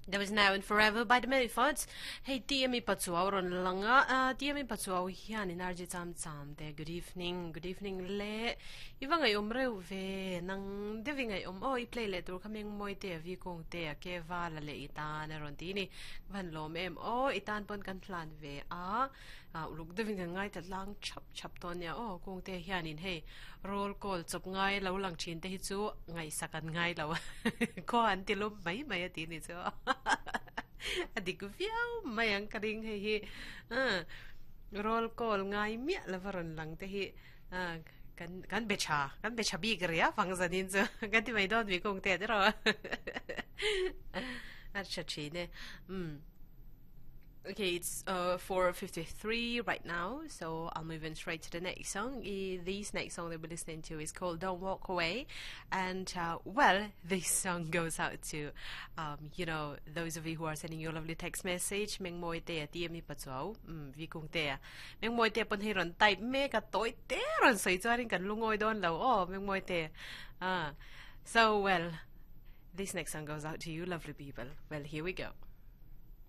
That was Now and Forever by the Manifolds. Hei TME Pachuau rawn lang a, uh, TME Pachuau hian in RJ Cham Cham te good evening, good evening le. I va ngaih awm reuh ve, nang deuh i ngaih awm aw, i play leh tur kha meng mawi te a vi kung te a ke va la leh i tan a rawn ti ni. Ka van lawm em aw, i tan pawn kan hlan ve a, uh, uluk deuh in kan ngaithla tlang thap thap dawn nia aw, kung te hian in hei roll call chawp ngai lo lang thin te hi chu ngaihsak an ngai lo a khaw an ti lum mai mai a tih ni chu a dik viau mai ang ka ring hei hi roll call ngai miah lova rawn lang te hi kan kan be tha kan be tha bik ria fang zanin chu kan ti mai dawn mi kung te te ro a tha thin e um Okay, it's uh, 4.53 right now, so I'll move in straight to the next song. This next song that we're listening to is called Don't Walk Away. And, uh, well, this song goes out to, um, you know, those of you who are sending your lovely text message. Meng moi te ti mi pachuau, mm, vi kung te. Meng moi te pon hei ron type me ka toi te ron soi chuanin kan lungoi don lo. Oh, meng moi te. Ah. So, well, this next song goes out to you, lovely people. Well, here we go.